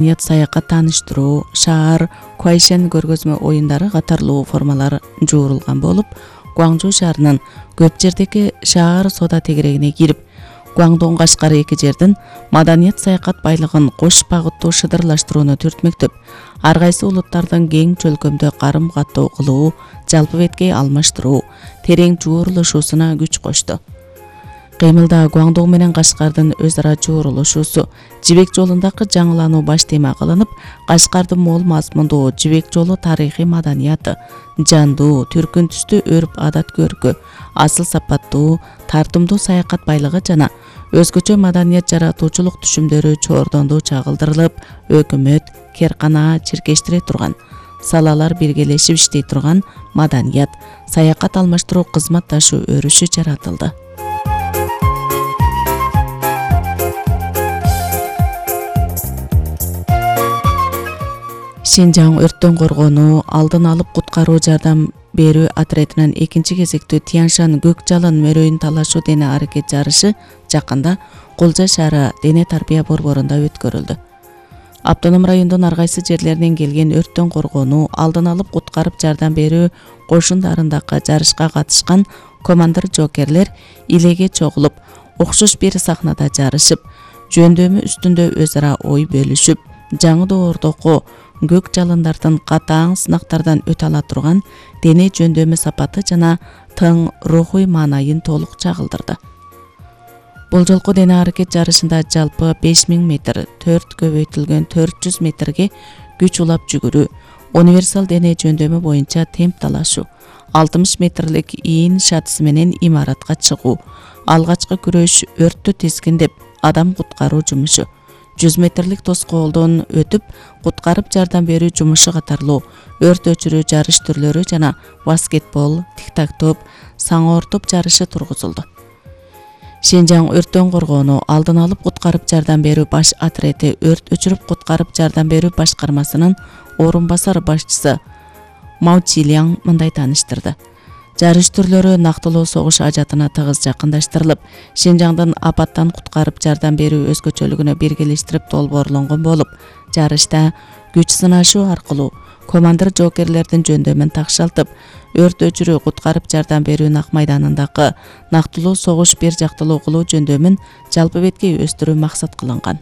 маданият, саякат, тааныштыруу, шаар, куайшен көргөзмө оюндары катарлуу формалар жуурулган болуп, Гуаңжу шаарынын көп жердеги шаар соода тегерегине кирип, Гуаңдун Кашкары эки жердин маданият, саякат байлыгын кош багыттуу шыдырлаштырууну түртмөктөп, ар кайсы улуттардын кең чөлкөмдө карым каттоо кылуу, жалпы беткей алмаштыруу, терең жуурулушуусуна күч кошту. Кыймылда Гуаңдуу менен Кашкардын өз ара жуурулушуусу, Жибек жолундагы жаңылануу баш тема кылынып, Кашкардын мол мазмундуу Жибек жолу тарыхый маданияты, жандуу, түркүн түстүү өрп адат көркү, асыл сапаттуу, тартымдуу саякат байлыгы жана өзгөчө маданият жаратуучулук түшүмдөрү чоордондуу чагылдырылып, өкмөт, керкана чиркештире турган, салалар биргелешип иштей турган маданият, саякат алмаштыруу кызматташуу өрүшү жаратылды. Шинжаң өрттөн коргонуу, алдын алып куткаруу жардам берүү отрядынын экинчи кезектүү Тяншан көк жалын мөрөйүн талашуу дене аракет жарышы жакында Кулжа шаары дене тарбия борборунда өткөрүлдү. Автоном райондун ар кайсы жерлеринен келген өрттөн коргонуу, алдын алып куткарып жардам берүү кошундарындагы жарышка катышкан командир-жокерлер илеге чогулуп, окшош бир сахнада жарышып, жөндөмү үстүндө өз ара ой бөлүшүп, жаңы доордогу көк жалындардын катаң сынактардан өтө ала турган дене жөндөмү сапаты жана тың рухуй маанайын толук чагылдырды. Бул жолку дене аракет жарышында жалпы 5000 метр, 4 көбөйтүлгөн 400 метрге күч улап жүгүрүү, универсал дене жөндөмү боюнча темп талашуу, 60 метрлик ийин шатысы менен имаратка чыгуу, алгачкы күрөш, өрттү тескиндеп адам куткаруу жумушу, 100 метрлик тоскоолдон өтүп, куткарып жардам берүү жумушу катарлуу өрт өчүрүү жарыш түрлөрү жана баскетбол, тик-так-топ, саңоор топ жарышы тургузулду. Шинжаң өрттөн коргонуу, алдын алып куткарып жардам берүү баш отрети өрт өчүрүп куткарып жардам берүү башкармасынын орун басар башчысы Мао Чилиаң мындай тааныштырды. Жарыш түрлөрү нактылуу согуш ажатына тыгыз жакындаштырылып, Шинжаңдын апаттан куткарып жардам берүү өзгөчөлүгүнө биргелештирип долбоорлонгон болуп, жарышта күч сынашуу аркылуу командир-жокерлердин жөндөмүн такшалтып, өрт өчүрүү куткарып жардам берүү нак майданындагы нактылуу согуш бир жактылуу кылуу жөндөмүн жалпы беткей өстүрүү максат кылынган.